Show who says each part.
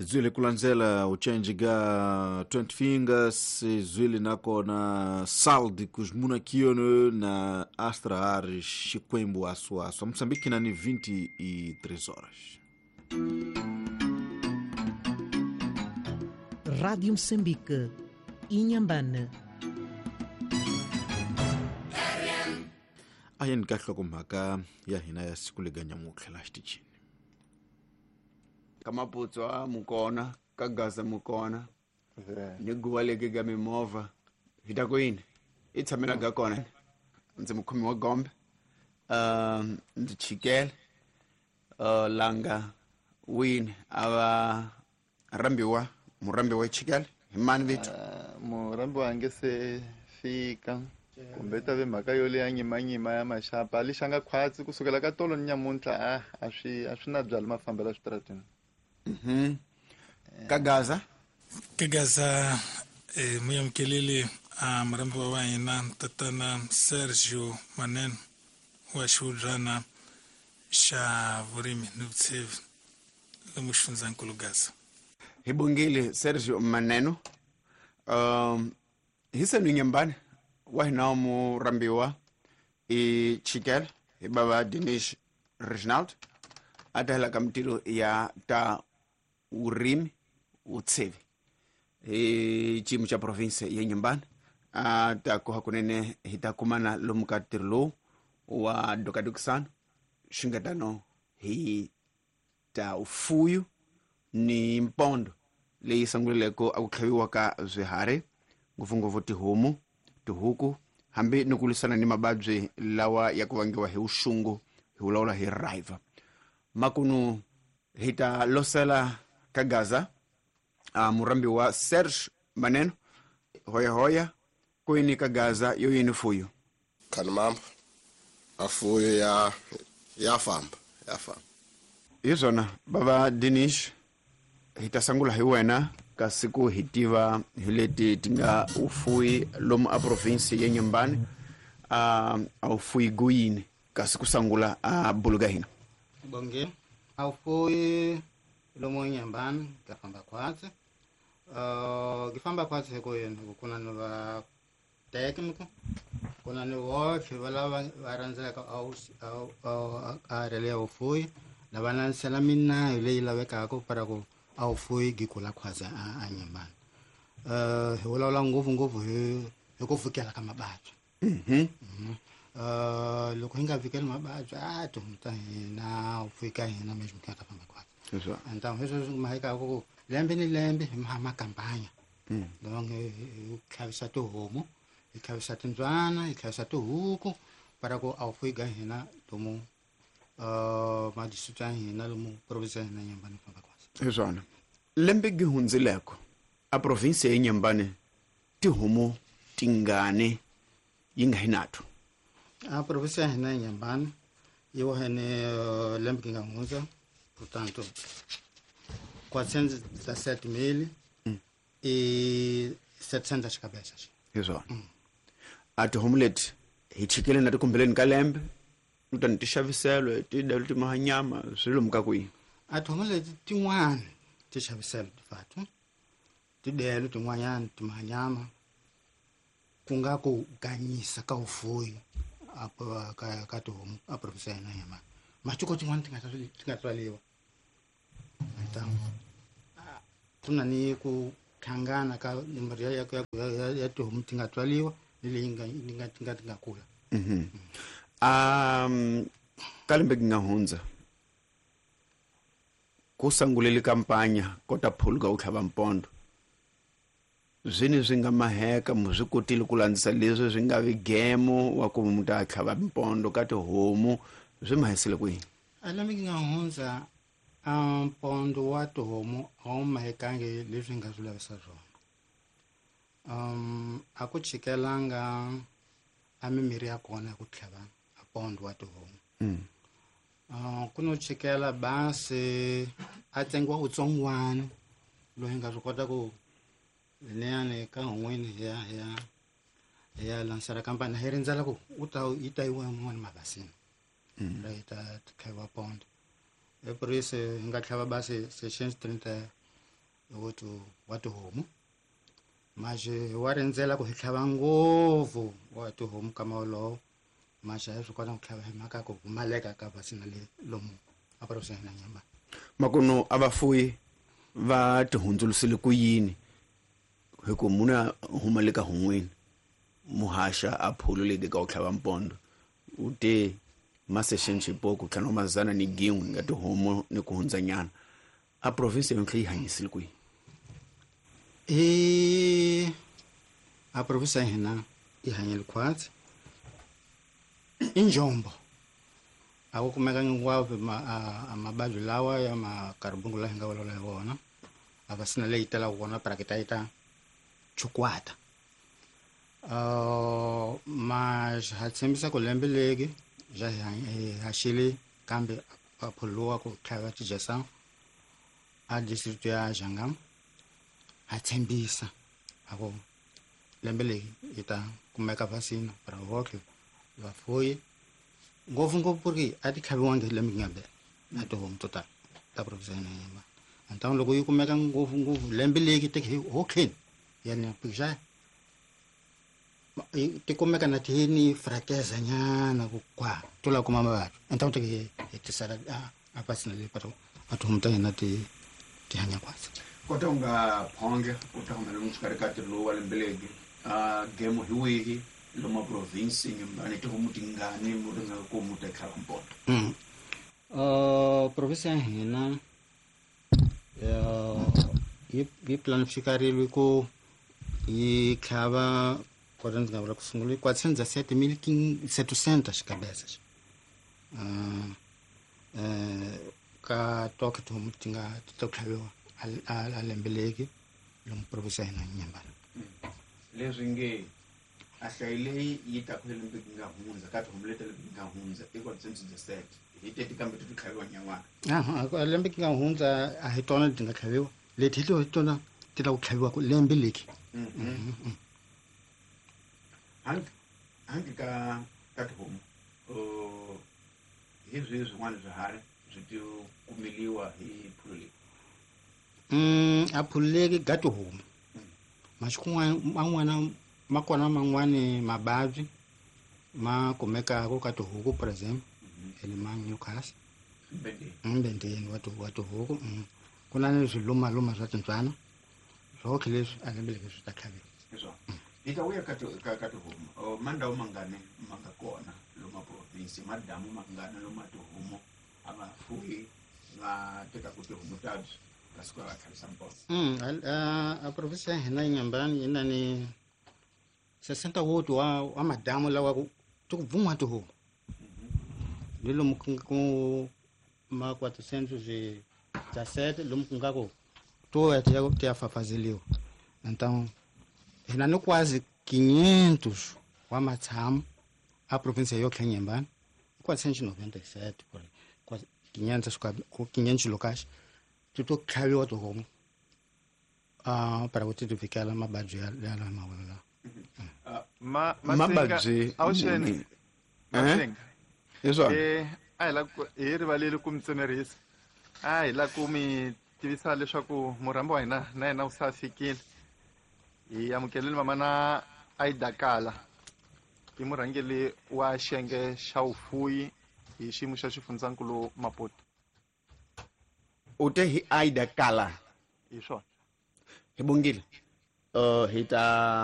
Speaker 1: Zwile kulandzela uchenji ga 20 Fingers, zwile nakona Saldicos Munakione na Astra Ares Xikwembu Aso Aso. Moçambique nani 23 horas.
Speaker 2: Rádio Moçambique, Inhambane.
Speaker 1: A yeni ka hlokomhaka ya hina ya siku leganyamutlha la xitichini.
Speaker 3: Ka Maputswa mukona, ka Gaza mukona, ni guva leki ga mimovha hi ta ku yini i tshamela ga kona. Ndzi mukhomi wa gombe, ndzi chikele langa wini a va rhambiwa murhambiwa chikele hi mani vito?
Speaker 4: Murhambiwa a nge se fika kumbe ta ve mhaka yo leya nyimanyima ya maxapa a lixanga khwatsi kusukela ka tolo ni nyamuntlha a swi na byala mafambelo switarateni.
Speaker 3: Ka Gaza?
Speaker 5: Ka Gaza muyamkeleli a murhambiwa wa hina tatana Sergio Maneno wa xihubyana xa vurimi ni vutshevi lomu xifundzankulu Gaza.
Speaker 3: Hi bongile Sergio Maneno. Hi senu Nyambane wa hina murhambiwa i chikele hi bava Dinesh Reginald a ta hela ka mitirho ya ta vurimi vutshevi hi xiyimo xa province ya Nyambane. A ta ku hakunene hi ta kumana lomu ka ntirho lowu wa dokadokisano swi nga tano hi ta ufuyu ni mpondo leyi sunguleleko a ku tlhaviwa ka swiharhi ngopfungopfu tihomu, tihuku, hambi ni ku lwisana ni mavabyi lawa ya ku vangiwa hi vuxungu hi vulavula hi riva. Makunu hi ta losela ka Gaza murhambiwa Serge Maneno hoya hoya kwini ka Gaza yo yini fuyo.
Speaker 6: Khanimamba a fuyo ya famba ya famba.
Speaker 3: Hi swona bava Dinesh, hi ta sungula hi wena kasi ku hi tiva hi leti ti nga ufuyi lomu a province ya Nyambane a ufuyi guyini kasi ku sungula a buluga hina.
Speaker 7: Bonge a ufuyi lomu Nyambane ka famba khwatsi. Ki famba khwatsi hi ku yini ku kuna ni va technical kuna ni votlhe va lava va rhandzaka a rele ya vufuyi lava landzelela minayo leyi lavekaka para ku a vufuyi gi kula khwatsi a Nyambane. Hi vulavula ngopfungopfu hi ku fikela ka mavabyi. Loko hi nga fikeli mavabyi a tihomu ta hina vufuyi ka hina mesmo ki nga ta famba khwatsi. Enta hi sweswo maheka ku lembe ni lembe hi makampanya donc hi tlhavisa tihomu, hi tlhavisa timbyana, hi tlhavisa tihuku para ku a vufuyi ka hina lomu madistrict ya hina lomu province ya hina Nyambane famba khwatsi.
Speaker 3: Hi swona lembe gi hundzileko a province ya Nyambane tihomu tingani yi nga hi nato?
Speaker 7: A province ya hina ya Nyambane yi wahene lembe gi nga hundza portanto 417 e 700 cabeças.
Speaker 3: Hi swona a tihomu leti hi chikele na tikumbeleni ka lembe kutani ti xaviselwe ti dalo ti maha nyama swi lomu ka kwihi?
Speaker 7: A tihomu leti tin'wani ti xaviselwe tifatu tidelo tin'wanyana ti maha nyama ku nga ku ganyisa ka vufuyi ka tihomu a province ya hina Nyambane. Matiko tin'wani ti nga tswaliwa ku na ni ku hlangana ka nomboro ya tihomu ti nga tswaliwa ni leyi nga kula.
Speaker 3: Ka lembe gi nga hundza ku sungulele kampanya ko ta phuluka u tlhava mpondo zwini swi nga maheka mu swi kotile ku landzisa leswi swi nga vi gemo wa ku mu ta tlhava mpondo ka tihomu swi mahisile kwihi?
Speaker 7: A lembe gi nga hundza mpondo wa tihomu a wu mahekangi leswi nga swi lavisa swona. A ku chikelanga a mimirhi ya kona ya ku tlhava a pondo wa tihomu. Ku no chikela basi a tsengiwa utsongwana loyi nga swi kota ku leyani ka hun'wini hi ya lansela kampani hi rindzela ku u ta yi ta yiwa yin'wana mabasini ra yi ta tlhaviwa pondo. Hi purisi hi nga tlhava basi 637 Wa tihomu maxe wa rindzela ku hi tlhava ngopfu wa tihomu kama wolowo maxe a swi kota ku tlhava hi mhaka ku pfumaleka ka vasina le lomu a province ya hina Nyamba.
Speaker 3: Makuno a vafuyi va tihundzulusile ku yini hi ku munhu a huma le ka hun'wini muhaxa a phulu leti ka ku tlhava mpondo u te masexeni xipoko tlhanu wa mazana ni gin'we nga tihomu ni ku hundzanyana a province yontlhe yi hanyisile kwihi?
Speaker 7: I a province ya hina yi hanyile khwatsi i njombo a ku kumeka hinkwavo a mavabyi lawa ya makaribungu laha hi nga vulavula hi wona a va sina leyi talaka kona parakita yi ta chukwata. Ma ha tshembisa ku lembe legi ja hi haxile kambe a phuluwa ku tlhava tijesa a district ya Jangam ha tshembisa a ku lembe leyi yi ta kumeka vasina para hotlhe vafuyi ngopfungopfu ku ri a ti tlhaviwangi hi lembe nga na tihomu to tala ta province ya Nyamba antawuni loko yi kumeka ngopfungopfu lembe leki teke hi hotlheni yani pixa ti kumeka na ti ni frakeza nyana ku kwa to la kuma mavabyi antawuni teke hi tisela a vasina leyi para a tihomu ta hina ti hanya kwasi.
Speaker 3: Kota u nga phonge u ta humela xikarhi ka tiluwa lembe legi a gemo hi wihi lomu province Nyumbani tihomu tingani mu ringa ku mu ta tlhava mpoto?
Speaker 7: Province ya hina yi planifikariwe ku yi tlhava kota ndzi nga vula ku sungula 407.700 xikabesa ka toke tihomu ti nga ti ta tlhaviwa a lembe leki lomu province ya hina Nyambani.
Speaker 3: Leswi nge a hlayi leyi yi ta ku lembe nga hundza ka tihomu leti lembe nga hundza i 407 hi teti kambe ti tlhaviwa nyan'wana.
Speaker 7: A lembe nga hundza a hi tona leti nga tlhaviwa leti hi tona ti la ku tlhaviwa ku lembe leki.
Speaker 3: Hangi ka tihomu hi swihi swin'wana swiharhi swi ti kumeliwa hi phulu leyi?
Speaker 7: A phulu leki ga tihomu masiku man'wana ma kona man'wani mavabyi ma kumekaka ka tihuku for example ele ma Newcastle mbendeni wa tihuku ku na ni swilumaluma swa tintswana swotlhe leswi a lembe leki swi ta tlhaviwa.
Speaker 3: Hi ta vuya ka tihomu mandhawu mangani ma nga kona lomu province madamu mangani lomu tihomu a va fuyi va tekaku tihomu tabyi va suka va tlhavisa mpondo?
Speaker 7: A province ya hina Nyambani yi na ni 68 wa madamu lawa ku ti ku bvun'wa tihomu ni lomu ku ma 417 lomu ku nga ku to ya ti ya fafazeliwa então hina ni quase 500 wa matshamu a province ya yotlhe Nyambani 497 por 500 locais ti to tlhaviwa tihomu para ku ti ti vikela mavabyi ya la mavolo lawa.
Speaker 3: Mavabyi
Speaker 4: awuxeni
Speaker 3: leswaku
Speaker 4: a hi la hi rivaleli ku mi tsemerisa a hi la ku mi tivisa leswaku murhambi wa hina na yena u sa fikile. Hi amukeleni mama na Aida Kala i murhangeri wa xiyenge xa vufuyi hi xiyimo xa xifundzankulu Maputo.
Speaker 3: U te hi Aida Kala
Speaker 4: hi swona
Speaker 3: hi bongile hi ta